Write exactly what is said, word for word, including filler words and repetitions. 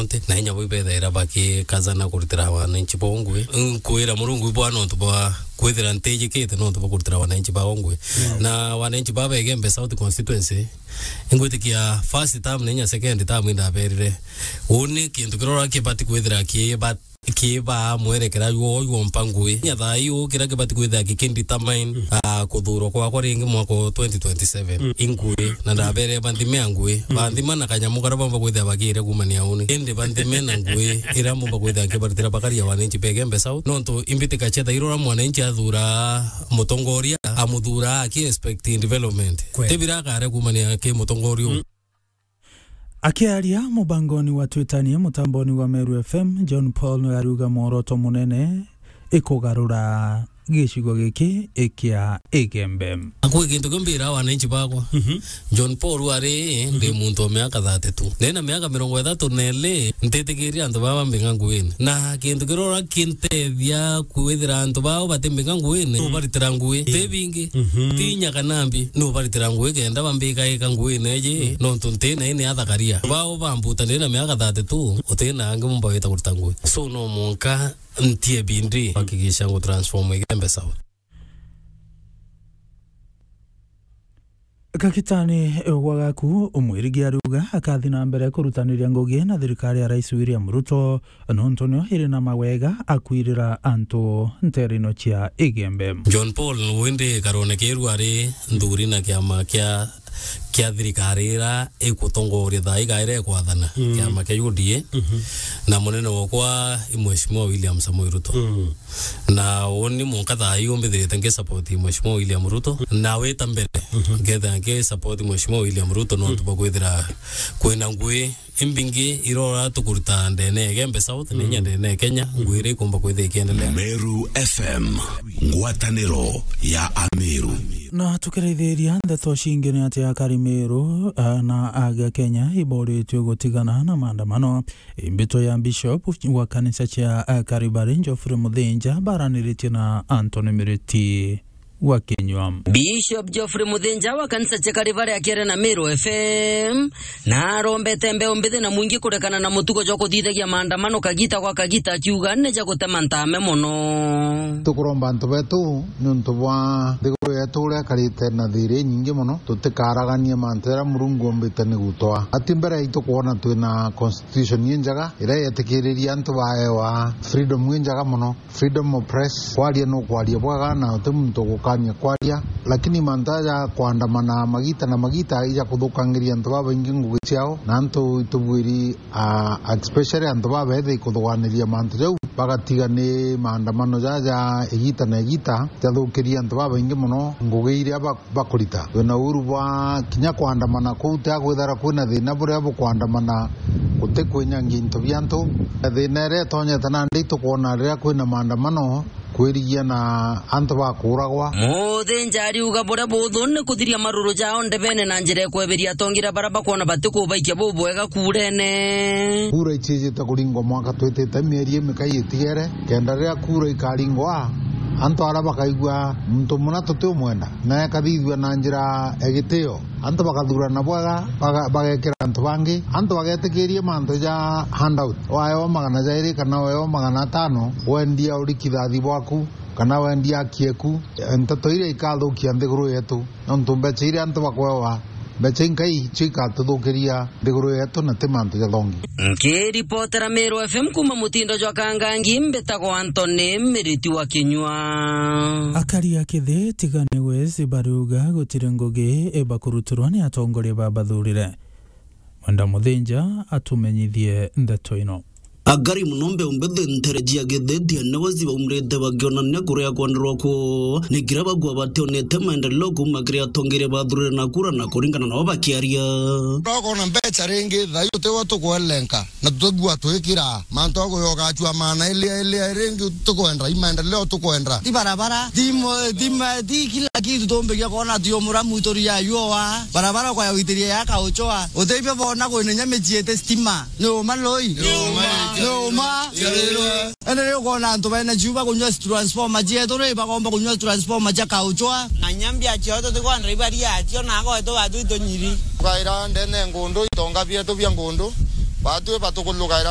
County, na inya bo ibethaira bakikazana kurutira wananchi bao ngui. Nkwira Murungu ibwa nontu bwa kwithira ntijikite nontu bwa kurutira wananchi bao ngui. Mm. Na wananchi ba Igembe South Constituency, ingwitikia first term na inya second term indaberire. Uni kintu kirora kibati kwithira kiba-, kibaa mwerekera jwo jwompa ngui. Inya thaa ii uu kiria kibati kwithira gikindetermine, mm, ah, kuthurwa kwakwa ringi mwaka wa twenty twenty-seven. Mm. Ingui, na ndabere banthime ngui. Mm. Banthima na kanyamu karia bamba kwithira bagire kumania uni. Indi banthime na ngui iria mbumba kwithira nkibaritira bakaria wananchi ba Igembe South. Nontu imbitika cia thairora mwananchi athura mutongoria, amuthura aki expecting development. Kweli. Tibira akare kumania ki mutongoria uu. Mm. Akiaria mubangoni wa Twitanie mutamboni wa Meru F M, John Paul ariuga mworoto munene ikugarura gicigo giki ikia Igembe. Akwi kintu kiu mbira wananchi bakwa. Mhm. John Paul ari, mhm, ndi muntu wa miaka thirty-two. Ndina miaka mirongo ithatu na iri, ntitikiria antu baba mbinga nguine. Na kintu kirora kintethia kwithira antu bao batimbinga nguine, mm, nubaritira ngui. Mm. Ti bingi, mhm, ti inya kana mbi, nubaritira ngui kenda bambika ika nguine iji, mm, nontu ntina ini athakaria. Bao bambuta ndina miaka thirty-two, utina angi mumba wita kurita ngui. So no mwanka ntie bindi, hakikisha ngu transform Igembe South. Kagitani gwa gaku, Mwirigi ariuga akathi na mbere kurutaniria ngugi na thirikari ya Rais William Ruto, nontu nio iri na mawega akwirira antu nterino cia Igembe. John Paul windi karone kiru ari nthuri na kiama kia, kia thirikari ira ikutongoria thaa igaire kwathana, mm, kiama kia U D A, mhm, na munene wakwa i Mheshimiwa William Samoei Ruto. Mm. Na uni mwanka thaa ii umbithirite ngi support Mheshimiwa William Ruto, na wita mbere, mhm, ngethira ngi support Mheshimiwa William Ruto, nontu, mm, bwa kwithira kwina ngui imbingi irora tukuruta ndene ya Igembe South, na inya, mm, ndene ya Kenya, ngui iria ikumba kwithira ikiendelea. Meru F M, ngwataniro ya Ameru. Na tukiraithiria ndeto cingi ni ati akari Meru, ah, na aga Kenya iboritue gutigana na maandamano. Imbitwa ya Bishop wa kanisa cia, eh, Kalvari, Geoffrey Muthinja, baraniritie na Anthony Miriti wa Kinyua. Bishop Geoffrey Muthinja wa kanisa cia Kalvari akiaria na Meru F M, na arombete mbeu mbithi na mwingi kurekana na mutugo jwa kuthithagia maandamano kagita gwa kagita, akiuga ni ja gutema ntame mono. Tukuromba antu betu niuntu bwa nthiguru yetu uria ikarite na thiri inyingi mono, tutikaraganie mantu jaria Murungu ombite ni gutwa. Ati mbere yaitu kwona twina constitution injega iria yetikiriria antu baewa freedom injega mono, freedom of press, kwaria nukwaria bwega na uti muntu ugukania kwaria, lakini mantu jaja kwandamana magita na magita ija kuthukangiria antu babaingi ngugi ciao, na antu itubwiri, ah, especially antu babethi kuthuganiria mantu jau, bagatiga ni maandamano jaja igita na igita jathukiria antu babaingi mono ngugi iria ba-, bakurita. Twina uhuru bwa kinya kwandamana kuu, tia kwithira kwina thina buria bukwandamana guti kwinyangia into bia antu. Thina iria itonyete nandi itukwona riria kwina maandamano, kwirigia na antu bakuragwa. Muthinja ariuga buria buthu ni kuthiria maruru jao ndebene na njira ya kweberia atongeria baria bakwona batikubaikia bubwega kurene. Kura icijite kuringwa mwaka twitite, mieri imikai itigere, kenda riria kura ikaringwa, antu aria bakaigua muntu muna tutiumwenda, na ekathithua na njira ya gitio. Antu bakathurana bwega, baga-, bagekira antu bangi. Antu bagetikirie mantu ja handout. Waewa magana jairi kana waewa magana atano, wendia uri kithathi bwaku, kana wendia aki eku. Nteto iria ikathukia nthiguru yetu. Nontu mbeca iria antu bakwewa, mbeca inkai cio ikatuthukiria nthiguru yetu na ti mantu jathongi. Nkiripotera Meru F M kuma mutindo jwa Kangangi, mbitagwa Anthony Miriti wa Kinyua. Akari a Kithi Tigania West bariuga gutiri ngugi ibakurutirwa ni atongoria babathurire. Mwenda Muthinja atumenyithie ndeto ino. Akari mono mbeu mbithi ntere cia Kithi Tigania West baumrite bakionania kuria kwenderwa ku ni kiria bagua bationete maendeleo kuma kiri atongeria bathurire na kura na kuringana nao bakiaria. Nokona mbeca ringi, thaa ii utiwe tukwelenka. Na tutibua twikira mantu a kuyoka acua maana ilia, ilia, ringi tukwenda, i maendeleo tukwenda. Ti barabara, ti mo-, ti ma-, ti kila kitu tumbiria kwona ati umuramu ituria yua. Barabara ukaya witiria ya kauchoa. Utibia bona kwina nya micii iti stima. Ni uma loi. Ni uma. Ni uma. Ende riu ukona antu bena ciuba kunyua transformer cietu ri, bagomba kunyua transformer cia kauchoa. Na nyambia cio tutikwenda ibaria cio na ago etu batu itunyiri. Tukaira ndene ngundu, itonga bietu bia ngundu. Batu batukulukira